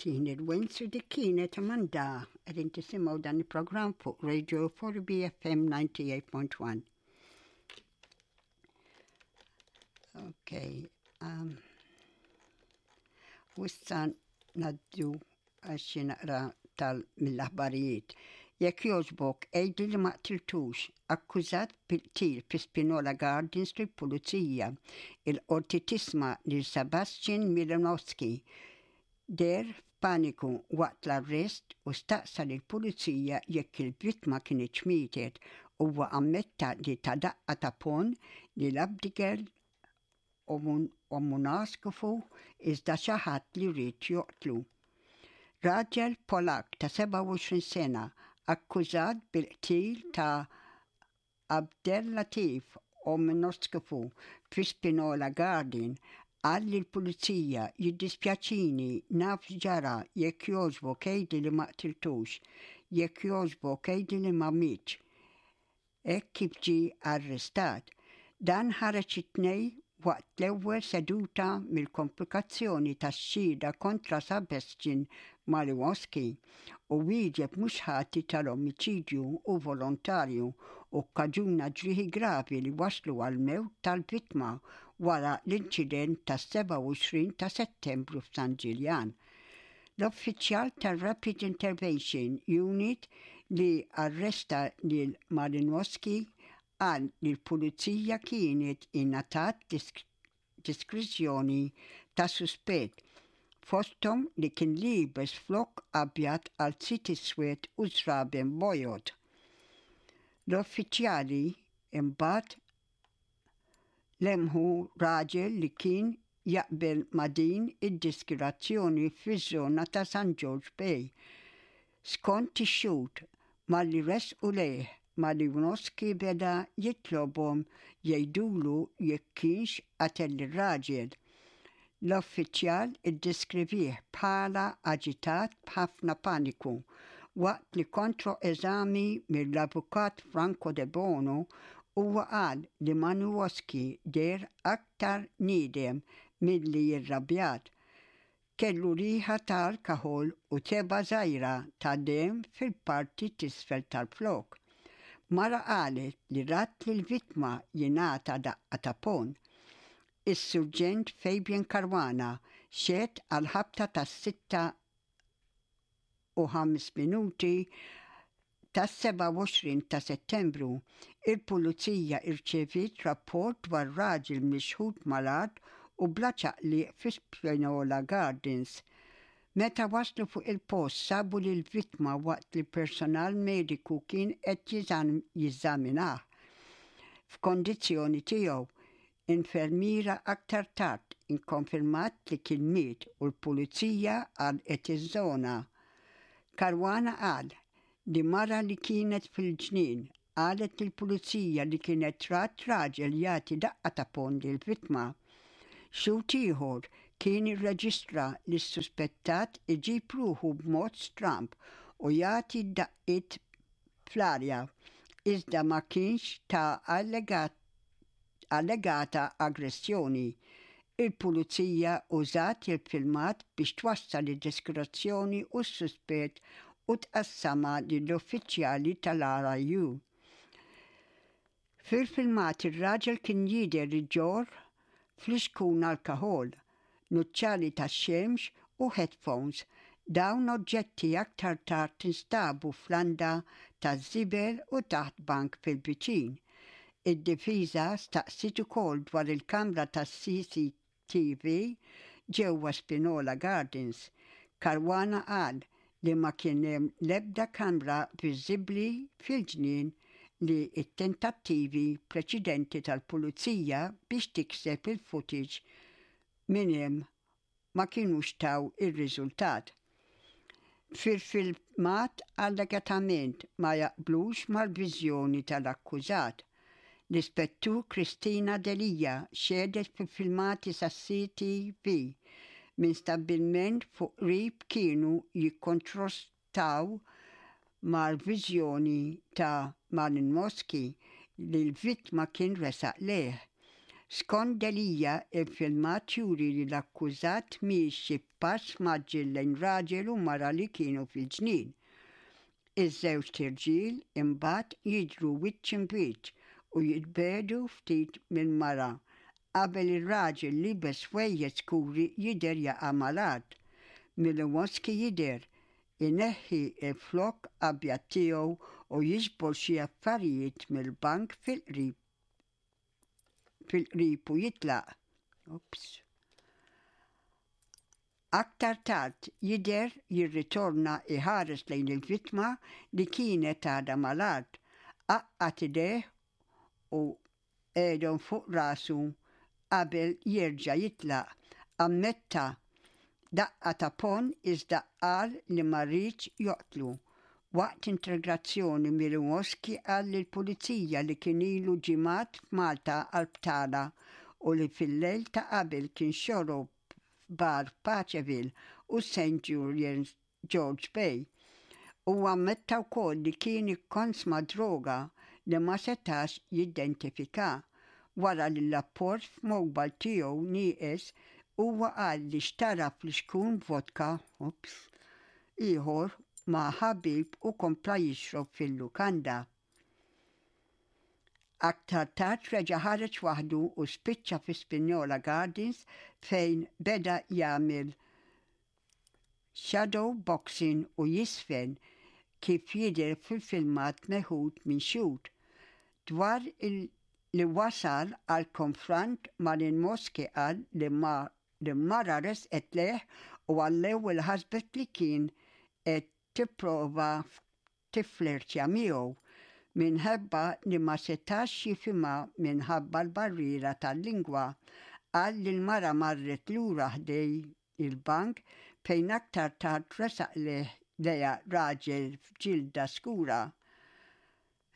Jien il-Wenz u dik kienet Amanda qegħdin tisimgħu dan il-programm fuq Radio 4BFM 98.1. Ok. Um, u issa naddu għal xi naqra tal mill-aħbarijiet. Jekk jogħġbok, għidli li ma qtiltux, akkużat bil-qtil fi Spinola Gardens lill-Pulizija. Il-Qorti tisma' lil Sebastian Milanowski deher f'paniku waqt l-arrest u staqsa lill-Pulizija jekk il-vittma kinitx mietet. Huwa ammetta li ta daqqa ta' ponn lil Abdigail Omunaskufu iżda xi ħadd li ried joqtlu. Raġel Polakk ta' 27 sena akkużat bil-qtil ta' Abdellatif Omunaskufu fi Spinola Garden qal lill-pulizija jiddispjaċini naf x'ġara jekk jogħġbok għidli li ma qtiltux, jekk jogħġbok għidli li ma mietx. Hekk kif ġie arrestat. Dan ħareġ it-Tnejn waqt l-ewwel seduta mill-komplikazzjoni tax-xhieda kontra Sebastian Malinowski u wieġeb mhux ħati tal-omiċidju u volontarju u kkaġuna ġrieħi gravi li wasslu għall-mewt tal-vittma wara l-inċident tas-27 ta' Settembru f'San Ġiljan. L-uffiċjal tar-Rapid Intervention Unit li arresta lil Malinowski qal li l-pulizija kienet ingħatat diskrizzjoni ta' suspett, fosthom li kien liebes flokk abjad qalziet iswed u żraben bojod. L-uffiċjali imbagħad lemħu raġel li kien jaqbel ma' din id-diskirazzjoni fiż-żona ta' San Ġorġ Bay. Skont ix-xhud, malli resqu lejh, Malinowski beda jitlobhom jgħidulu jekk kienx qatel lir-raġel. L-uffiċjal iddeskrivih bħala aġitat b'ħafna paniku. Waqt li kontro-eżami mill-Avukat Franco Debono, huwa qal li Malinowski deher aktar niedem milli irrabjat. Kellu riħa ta' alkaħol u tebgħa żgħira ta' demm fil-parti t'isfel tal-flokk. Mara qalet li rat lill-vittma jingħata daqqa ta' ponn. Is-Surġent Fabian Caruana xehed għall-ħabta tas-sitta u ħames minuti tas-27 ta' Settembru, il-Pulizija rċeviet rapport dwar raġel mixħut mal-art u bla ċaqliq fi Spinola Gardens. Meta waslu fuq il-post sabu lill-vittma waqt li personal mediku kien qed jeżaminah f'kondizzjoni tiegħu. Infermiera aktar tard ikkonfermat li kien miet u l-Pulizija għalqet iż-żona. Caruana qal li mara li kienet fil-ġnien qalet lill-Pulizija li kienet rat raġel jagħti daqqa ta' ponn lill-vittma. Xhud ieħor kien irreġistra lis-suspettat iġib ruħu b'mod stramb u jagħti daqqiet fl-arja, iżda ma kienx ta' allegat allegata aggressjoni. Il-Pulizija użat il-filmat biex twassal id-deskrizzjoni u s-suspett u tqassamha lill-uffiċjali tal-RIU. Fil-filmat ir-raġel kien jidher iġorr flixkun alkaħol, nuċċali tax-xemx u headphones. Dawn oġġetti aktar tard instabu f'landa taż-żibel u taħt bank fil-viċin. Id-difiża staqsiet ukoll dwar il-kamra tas-CCTV ġewwa Spinola Gardens. Caruana qal li ma kien hemm l-ebda kamra viżibbli fil-ġnien li t-tentattivi preċedenti tal-pulizija biex tikseb il-footage minn hemm ma kinux taw ir-riżultat. Fil-filmat allegatament ma jaqblux mal-viżjoni tal-akkużat. L-Ispettur Christina Delia xehdet fil-filmati sas-CTV minn stabbilment fuq qrib kienu jikkontrostaw mal-viżjoni ta' Malinowski li l-vittma kien resaq lejh. Skont Delia, il-filmat juri li l-akkużat miexi b'pass mgħaġġel lejn raġel u mara li kienu fil-ġnien. Iż-żewġt irġiel imbagħad jidhru wiċċ imb'wiċċ u jitbiegħdu ftit mill-mara qabel ir-raġel liebes ħwejjeġ skuri jidher jaqa' mal-art. Milowoski jidher ineħħi l-flokk abjad tiegħu u jiġbor xi affarijiet mill-bank fil-qrib fil-qrib u jitlaq. Oops. Aktar tard jidher jirritorna iħares lejn il-vittma li kienet għadha mal-art, għaqqad idejh u qegħedhom fuq rasu qabel jerġa' jitlaq. Ammetta daqqa ta' ponn iżda qal li ma riedx joqtlu. Waqt interrogazzjoni Milowoski qal lill-Pulizija li kien ilu ġimgħat f'Malta għal btala u li fil-lejl ta' qabel kien xorob f'bar f'Paceville u St Julian's George Bay. Huwa ammetta wkoll li kien ikkonsma droga li ma setax jiddentifika. Wara li l-apport f'mobile tiegħu nieqes, huwa qal li xtara flixkun vodka, oops, ieħor ma' ħabib u kompla jixrob fil-lukanda. Aktar tard reġa' ħareġ waħdu u spiċċa fi Spinjola Gardens fejn beda jagħmel shadow boxing u jiżfen kif jidher fil-filmat meħud minn xhud. Dwar li wasal għal konfront Malinowski qal li li mara resqet lejh u għall-ewwel ħasbet li kien qed tipprova tifflirtja miegħu minħabba li ma setax jifhimha minħabba l-barriera tal-lingwa. Qal li l-mara marret lura ħdej il-bank fejn aktar tard resaq lejha raġel f'ġilda skura.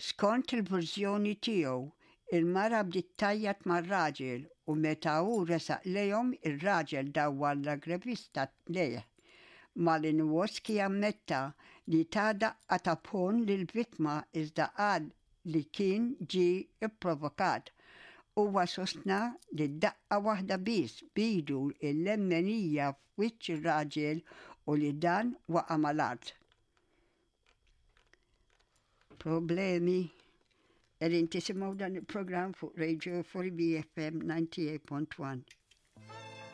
Skont il-verżjoni tiegħu, il-mara bdiet tgħajjat mar-raġel u meta hu resaq lejhom ir-raġel dawwar l-aggrevista lejh. Malinowski ammetta li ta daqqa ta' ponn lill-vittma iżda qal li kien ġie pprovokat. Huwa sostna li daqqa waħda biss b'idu l-lemmenija f'wiċċ ir-raġel u li dan waqa' mal-art. Problemi. Qegħdin tisimgħu dan il-programm fuq Radio 4BFM 98.1.